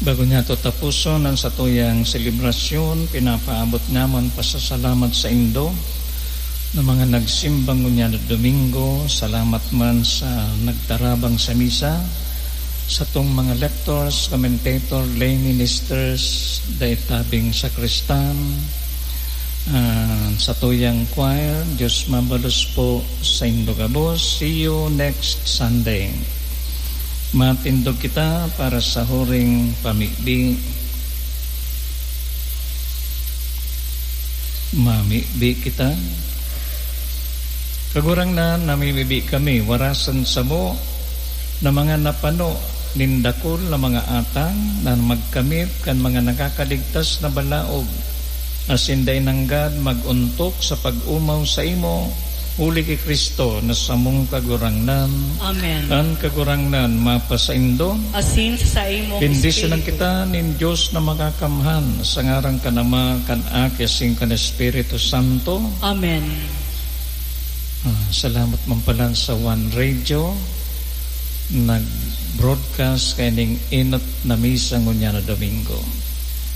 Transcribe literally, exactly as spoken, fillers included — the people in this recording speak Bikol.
Bago niyato tapuson an satuyang selebrasyon, pinapaabot namon pasasalamat saindo na mga nagsimba ngunyan na Domingo. Salamat man sa nagtarabang sa misa, satong mga lectors, commentator, lay ministers, dai tabing sakristan, ah, satuyang choir. Diyos mabalos po saindo gabos. See you next Sunday. Matindog kita para sa huring pamibi. Mamibi kita. Kagurangnan, namimibi kami, warasan samo na mga napano nin dakul na mga atang na magkamit kan mga nakakaligtas na balaog, asin dai nanggad mag-ontok sa pag-omaw saimo, huli ki Cristo na samong Kagurangnan. Amen. An Kagurangnan mapasaindo. Asin sa saimong Bendisyunan espiritu. Kita nin Dios na Makakamhan, sa ngaran kan Ama, kan Aki, asin kan Espiritu Santo. Amen. Ah, salamat man pala sa One Radio, nag-broadcast kaining enot na misa ngunyan na Domingo.